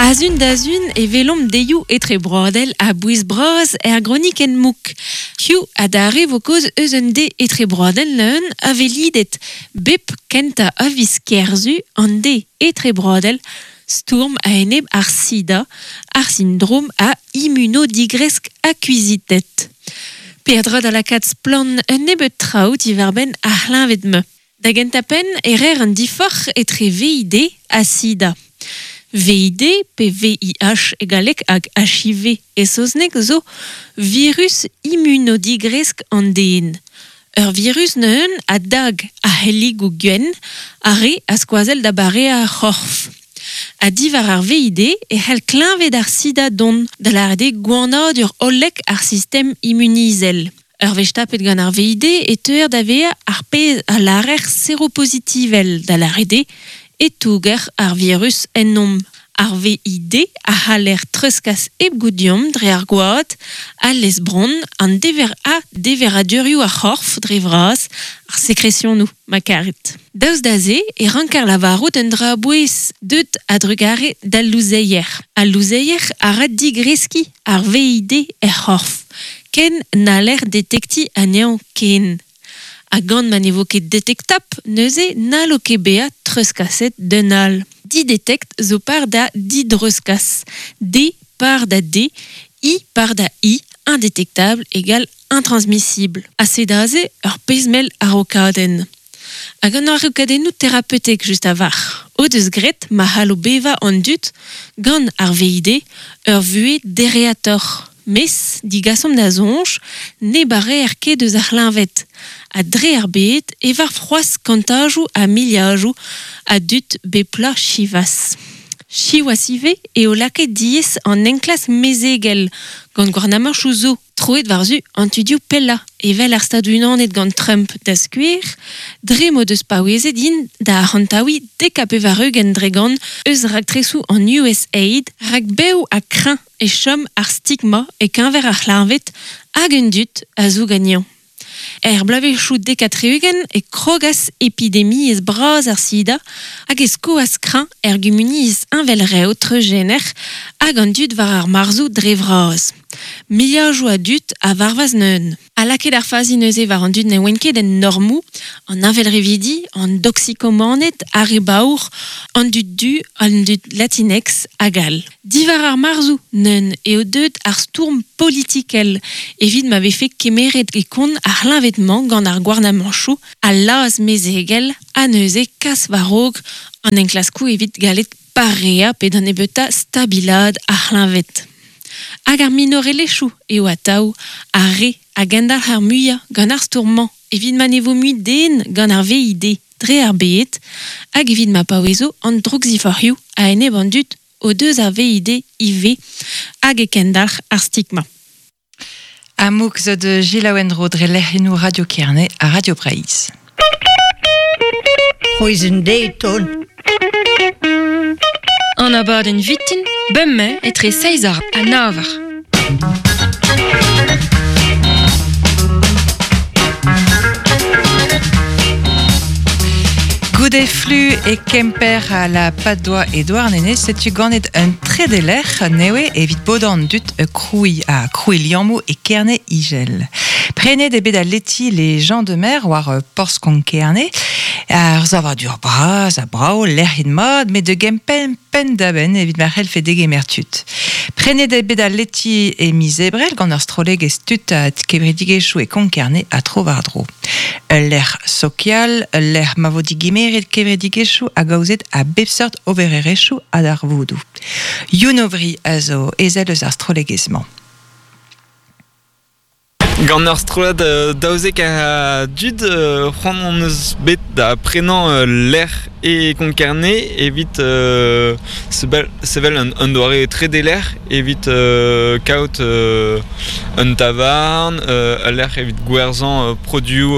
A-zun da zun e welomp deioù etrebroadel a-bouez bras er gronikenn mouk. Hiziv adarre vo kaoz eus un deiz etrebroadel leun a velidet bep kentañ a viz Kerzu an deiz etrebroadel stourm a-enep ar sida, ar sindrom a immunodigresk akuizitet. Peadra da lakaat splann un nebeud traoù diwar-benn ar c'hleñved-mañ. Da gentañ-penn e reer an diforc'h etre VID ha sida. VID pe VIH e galleg hag HIV e saozneg zo virus immunodigresk an den. Ur virus neuze a dag ar c'helligoù gwenn, ar re a skoazell da bareañ ar c'horf. Ha diwar ar VID e c'hell kleñved ar sida dont, da lâret eo gwanadur hollek ar sistem immunizel. Ur wech tapet gant ar VID e teuer da vezañ ar pezh a lârer seropozitivel, da lâret eo e touger ar virus ennomp. Ar VID a c'haller treuzkas hep goût deomp dre ar gwad, al lez-bronn, an dever ha deveradurioù ar c'horf dre vras, ar sekresionoù, ma karit. Daoust da se e ranker lavarout un dra a-bouez deuet a-drugarez d'al louzeier. Al louzeier a ra digreskiñ ar VID er c'horf, ken n'haller detektiñ anezhañ ken. Ha gant ma ne vo ket detektapl neuze n'hallo ket bezañ treuzkaset d'un all. Didetekt zo par da didreuzkas. D par da D, I par da I, indétectable égale intransmissible. Ha sed aze ur pezh-mell araokadenn. Hag an araokadennoù terapeutek just a-walc'h o deus graet ma c'hallo bevañ an dud gant ar VID ur vuhez dereatoc'h. Mes digasomp da soñj ne bareer ket eus ar c'hleñved ha dre ar bed e varv c'hoazh kantajoù ha miliadoù a dud bep bloaz siwazh. Siwazh ivez eo lakaet diaes an enklask mezegel gant gouarnamantoù zo troet war-zu an tudioù pellañ evel ar Stadoù-Unanet gant Trump da skouer, dre m'o deus paouezet int da arc'hantaouiñ 90% eus raktresoù an USAID rak bev ha kreñv e chom ar stigma e-keñver ar c'hleñved hag an dud a zoug anezhañ. Er bloavezhioù 70 e krogas epidemiezh bras ar sida hag e skoas kreñv er gumuniezh heñvelrev treuzjener hag an dud war ar marzoù dre vras. Miliadoù a dud a varvas neuze. Ha lakaet ar fazi neuze war an dud ne oant ket en normoù, an heñvelrevidi, an doksikomaned, ar re baour, an dud du, an dud latinx hag all. Diwar ar marzoù neuze eo deuet ar stourm politikel evit ma vefe kemeret e kont ar c'hleñved-mañ gant ar gouarnamantoù, al laz mezegel ha neuze kas war-raok an enklaskoù evit gallet pareañ pe da nebeutañ stabilaat ar c'hleñved. Hag ar minorelezhioù eo atav ar re a gendalc'h ar muiañ gant ar stourm-mañ evit ma ne vo mui den gant ar VID dre ar bed hag evit ma paouezo an droukziforc'hioù a-enep an dud o deus ar VID ivez hag e kendalc'h ar stigma. Amouk zo de Gilles Endro dre lec'henoù Radio Kerne ha Radio Breizh. C'hwezh deton. An abadenn vitin, bemdez etre seizh eur ha nav eur. Goude flu e Kemper ha la Padoa e Douarnenez, setu ganet un trede lec'h newe evit bodañ an dud krouiñ ha krouiñ liammoù e Kerne Igel. Prenet eo bet al leti Les Gens de Mer war porzh Konk-Kerne. Ar savadur bras ha brav, lec'hiet mat, met da gempenn penn-da-benn evit ma c'hellfe degemer tud. Prenet eo bet al leti e miz Ebrel gant ur strollegezh tud ha kevredigezhioù e Konk-Kerne ha tro-war-dro. Ul lec'h sokial, ul lec'h ma vo digemeret kevredigezhioù hag aozet a bep seurt obererezhioù ha darvoudoù. Youn Aubry a zo ezel eus ar strollegezh-mañ. Gant ur strollad 12 a dud c'hoant hon eus bet da prenañ ul lec'h e Konk-Kerne evit sevel un doare tredelec'h evit kaout un tavarn, ul lec'h evit gwerzhañ produoù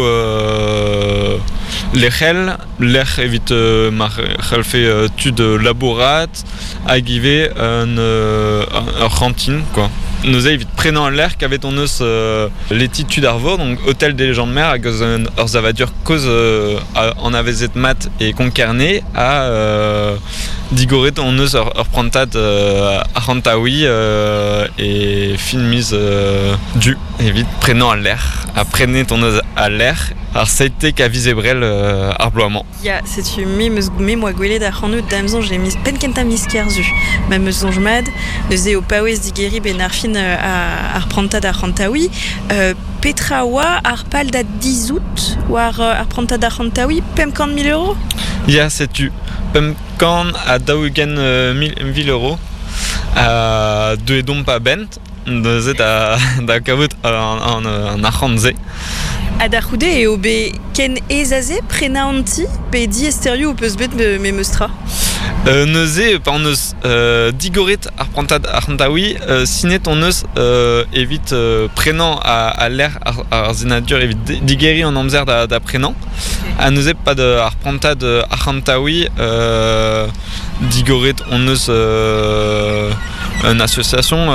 lec'hel, lec'h evit ma c'hellfe tud labourat hag ivez un ur c'hantin quoi. Neuze evit prenañ al lec'h kavet hon eus leti tud ar vor, donc hôtel des légendes mer hag eus ur savadur kozh anavezet mat e Konk-Kerne ha digoret hon eus ur prantad arc'hantaouiñ e fin miz Du evit prenañ al lec'h ha prenet hon eus al lec'h ar 17 a viz Ebrel ar bloaz-mañ. Ya, setu me 'meus me 'moa gwelet ac'hanout da'm soñj e miz penn-kentañ miz Kerzu. Ma 'meus soñj mat, neuze o paouez digeriñ 'benn ar fin ar prantad arc'hantaouiñ. Petra oa ar pal da dizhout war ar prantad arc'hantaouiñ? 500 000 euros? Ya, setu 540 000 euros. Deuet omp a-benn neuze da kavout an arc'hant-se. Ha da c'houde eo bet ken aes aze prenañ an ti pe diaesterioù ho peus bet memes tra? Neuze, pa hon eus digoret ar prantad arc'hantaouiñ, sinet hon eus evit prenañ al lec'h ar senadur evit digeriñ an amzer da prenañ. Ha neuze, pad ar prantad arc'hantaouiñ, digoret hon eus un association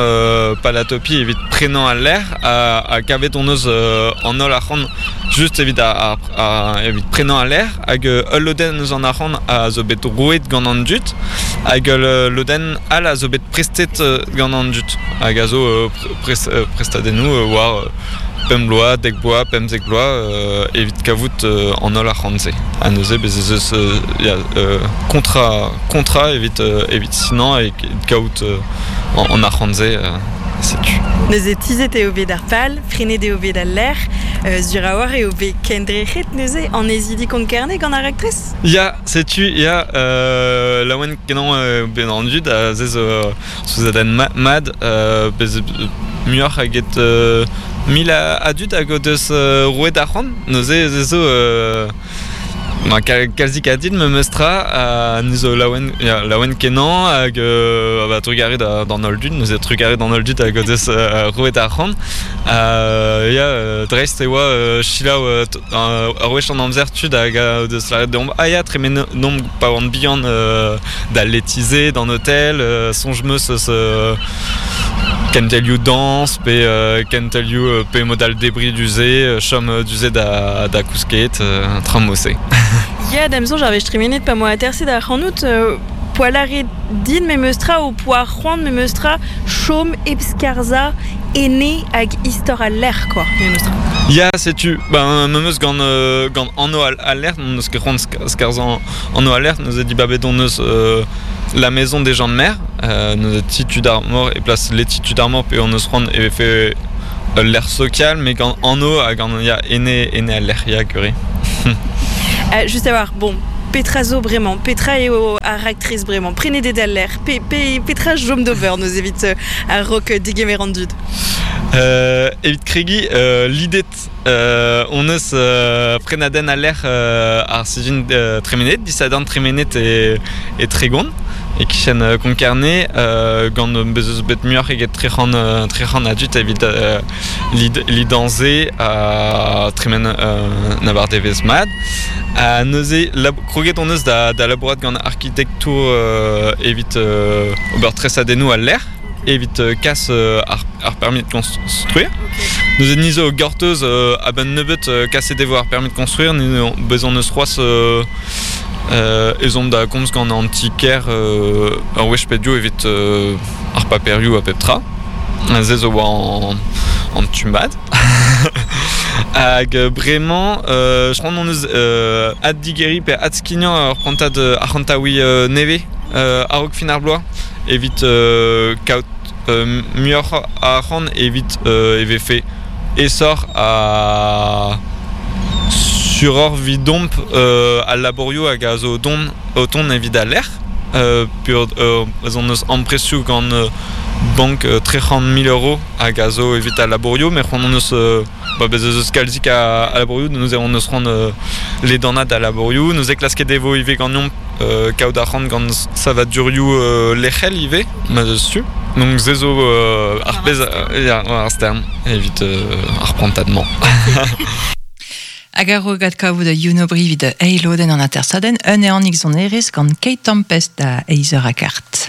Palatopie evit prenañ al lec'h ha kavet hon eus an holl arc'hant just evit ar, evit prenañ al lec'h hag ul lodenn eus an arc'hant a zo bet roet gant an dud hag ul lodenn all a zo bet prestet gant an dud hag a zo prestadennoù war pemp bloaz, dek bloaz, 15 bloaz evit kavout an holl arc'hant-se. Ha neuze bez ez eus ya, kontra, kontra evit, evit sinañ e kaout an arc'hant-se, setu. Neuze tizhet eo bet ar pal, prenet eo bet al lec'h, sur a-walc'h eo bet kendrec'het neuze annezidi Konk-Kerne gant ar raktres? Ya, setu, ya, laouen-kenañ bet an dud a se zo souezhadenn mat, bez muioc'h eget 1000 a dud hag o deus roet arc'hant. Neuze ez zo kalzik a dud memes tra ha ni zo laouen, ya, laouen kenañ hag bah, trugarez d'an holl dud. Neuze trugarez d'an holl dud hag o deus roet arc'hant. Ya, dreist e oa selaou ur wech an amzer tud hag o deus lâret deomp ah ya tremenomp pa oan bihan d'al leti-se, d'an hôtel, soñj 'meus eus kentelioù dañs pe kentelioù pe mod all debriñ du-se, chom du-se da kousket, tra mod-se. Ya, da'm soñj ar wech tremenet pa 'moa aterset ac'hanout, poa lâret din memes tra ho poa c'hoant memes tra chom hep skarzhañ ene hag istor al lec'h quoi memes tra. Ya, setu, ben memes gant gant anv al lec'h, n'on eus ket c'hoant skarzhañ anv al lec'h, neuze dibabet hon eus la maison des gens de mer, neuze ti tud ar mor e plas leti tud ar mor pe hon eus c'hoant e vefe ul lec'h sokial mais gant anv ha gant ya, ene, ene al lec'h, ya, gwir. Just a-walc'h, bon, petra zo bremañ? Petra eo ar raktres bremañ? Prenet eo d'al lec'h? Pe, pe, petra chom d'ober neuze evit ar rock digemer an dud? Evit kregiñ, lidet hon eus prenadenn al lec'h ar sizhun tremenet, disadorn tremenet e Tregon, e-kichen Konk-Kerne, gant bez eus bet muioc'h eget 300 a dud evit lidañ-se ha tremen un abardaevezh mat. Ha neuze kroget hon eus da labourat gant arkitektour evit ober tresadennoù al lec'h. Evit kas ar permis de construire. Neuze ni zo gortoz a-benn nebeut kaset e vo ar permis de construire. Ni bezañ eus c'hoazh ezhomm da gomz gant an ti-kêr ur wech pe div evit ar paperioù ha pep tra. Se zo war an tu mat. Hag bremañ, c'hoant hon eus addigeriñ pe adskignañ ur prantad arc'hantaouiñ nevez a-raok fin ar bloaz. Evit kaout muioc'h a arc'hant evit e vefe aesoc'h ha suroc'h evidomp al labourioù hag a zo o tont evit al lec'h peogwir ez hon eus amprestoù gant bank 300 000 euros hag a zo evit al labourioù met c'hoant hon eus ba bez ez eus kalzik a labourioù neuze hon eus c'hoant ledanaat al labourioù neuze klasket e vo ivez ganeomp kaout arc'hant gant savadurioù lec'hel ivez ma eus tu donc se zo ar pezh ya ar stern evit ar prantad-mañ. Hag ar rogat kavout a Youno Brivid eiloden an atersaden, un eanik sonerez gant Kate Tempest da eizer a kart.